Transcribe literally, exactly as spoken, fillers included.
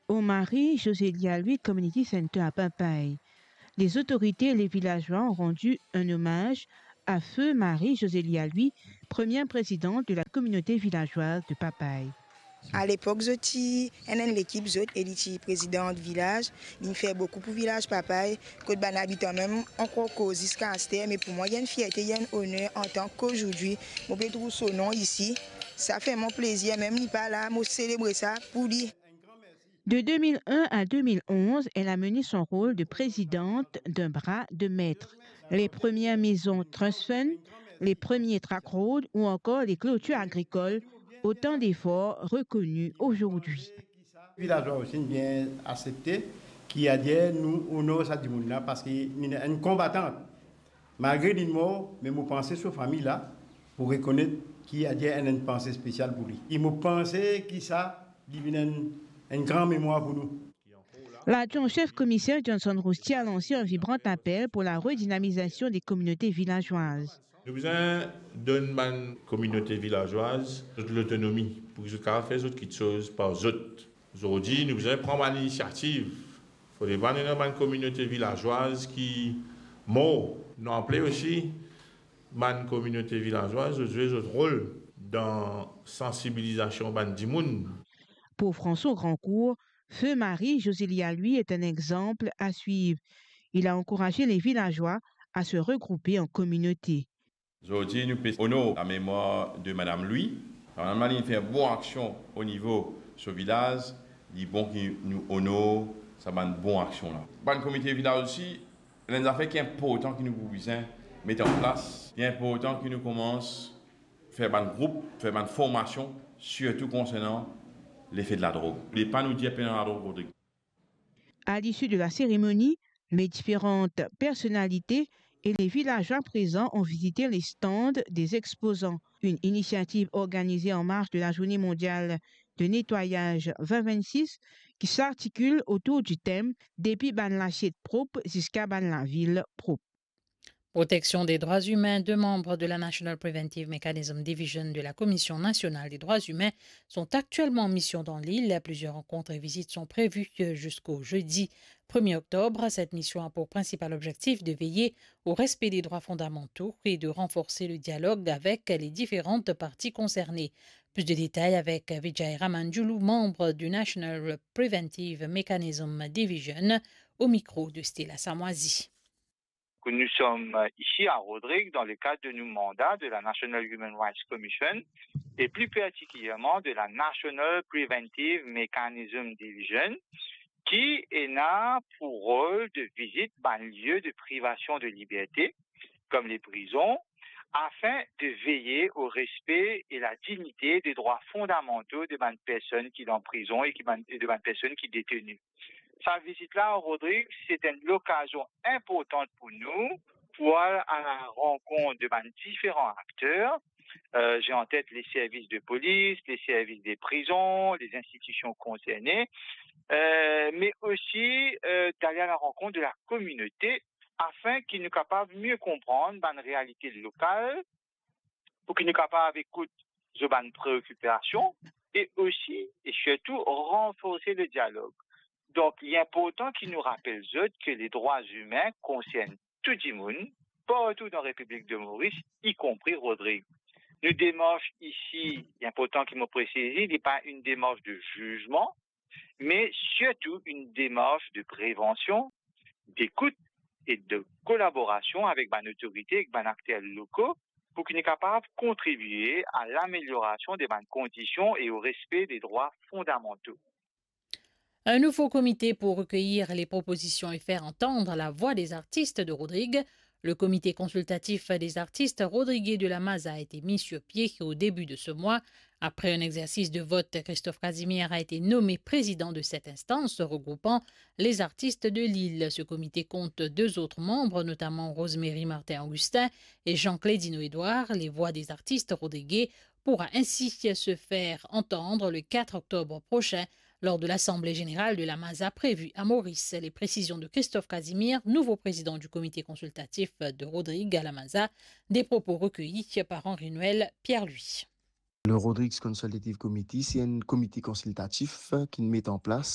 au Marie Josélia Louis Community Center à Papay. Les autorités et les villageois ont rendu un hommage à feu Marie Josélia Louis, première présidente de la communauté villageoise de Papay. Alepok zot ti enn, enn lekip zot, e li ti prezidan vilaz. Li fer boukou pou vilaz Papay, kot bann abitan mem ankor koz ziska aster. Me pou mwa, li enn fierte, li enn oner antan ki zordi mo pe trouv so nom isi. Sa fer mwa plezir, mem li pa la, mo selebre sa pou li. De deux mille un à deux mille onze, elle a mené son rôle de présidente d'un bras de maître, les premières maisons Trust Fund, les premiers track roads ou encore les clôtures agricoles, autant d'efforts reconnus aujourd'hui. Vilazwa osi inn bien aksepte ki adir nou onor sa dimoun la, parski li enn konbatan. Malgre li mor, me mo panse so fami la pou rekonet ki adir enn, enn panse spesial pou li. E mo panse ki sa li vinn enn, enn gran memwar pou nou. L'adjoint au chef commissaire Johnson Roustier a lansé un vibrant appel pour la redynamisation des communautés villageoises. Nou bizin donn bann kominote vilazwaz zot lotonomi pou ki zot kapav fer zot kiksoz par zot. Zordi, nou bizin pran bann inisiativ. Fode pa nou ena bann kominote vilazwaz ki mor. Nou aple osi bann kominote vilazwaz zot zwe zot rol dan sansibilizasion bann dimoun. Pour François Grandcourt, feu Marie Josélia Louis est un exemple à suivre. Il a encouragé les villageois à se regrouper en communauté. Zordi nou pe onor lamemwar de Madam Louis. Madam Louis fer bon aksion o nivo so vilaz, li bon ki nou onor sa bann bon aksion la. Bann komite vilaz osi, enn zafer ki inportan ki nou pou bizin met an plas. Li inportan ki nou koumans fer bann group, fer bann formasion, sirtou konsernan lefe de ladrog. Li pa nou dir pena ladrog, Rodrig. À l'issue de la cérémonie, les différentes personnalités et les villageois présents ont visité les stands des exposants. Une initiative organisée en marge de la Journée mondiale de nettoyage vingt vingt-six qui s'articule autour du thème Depi bann lasiet prop ziska bann lavil prop. Protection des droits humains, deux membres de la National Preventive Mechanism Division de la Commission nationale des droits humains sont actuellement en mission dans l'île. Plusieurs rencontres et visites sont prévues jusqu'au jeudi premier octobre. Cette mission a pour principal objectif de veiller au respect des droits fondamentaux et de renforcer le dialogue avec les différentes parties concernées. Plus de détails avec Vijay Ramanjulu, membre du National Preventive Mechanism Division, au micro de Stella Samoisi. Que nous sommes ici à Rodrigues dans le cadre de nos mandats de la National Human Rights Commission et plus particulièrement de la National Preventive Mechanism Division, qui ena pour rôle de visite bann lieu de privation de liberté, comme les prisons, afin de veiller au respect et la dignité des droits fondamentaux de bann personn ki dan prizon e ki bann, e de bann personn ki deteni. Sa vizit la, Rodrig, se enn lokazion inportan pou nou pou al à la rencontre de bann diferan akter. Euh, j'ai en tête les services de police, les services des prisons, les institutions concernées, euh, mais aussi, euh, d'aller à la rencontre de la communauté afin ki nou kapav mie konprann bann realite lokal, pou ki nou kapav ekout zot bann preokipasion e osi e sirtou ranforse le dialog. Donk, li inportan ki nou rapel zot ke les droits humains konsern tou dimoun, partou dan Repiblik de Moris, ikonpri Rodrig. Nou demars isi, li inportan ki mo presize, li pa enn demars de zizman, me sirtou enn demars de prevansion, dekout e de kolaborasion avek bann otorite, ek bann akter loko, pou ki nou kapav kontribie à l'amélioration de bann kondision e au respect des droits fondamentaux. Un nouveau comité pour recueillir les propositions et faire entendre la voix des artistes de Rodrigues. Le comité consultatif des artistes rodriguais de la Maza a été mis sur pied au début de ce mois. Après un exercice de vote, Christophe Casimir a été nommé président de cette instance regroupant les artistes de l'île. Ce comité compte deux autres membres, notamment Rosemary Martin-Augustin et Jean Clédino Edouard. Les voix des artistes rodriguais pourra ainsi se faire entendre le quatre octobre prochain lors de l'Assemblée générale de la Maza prévue à Maurice. Les précisions de Christophe Casimir, nouveau président du comité consultatif de Rodrigues à la Maza, des propos recueillis par Henri-Noël Pierre-Louis. Le Rodrigues Consultative Committee, se enn komite konsiltatif ki met an plas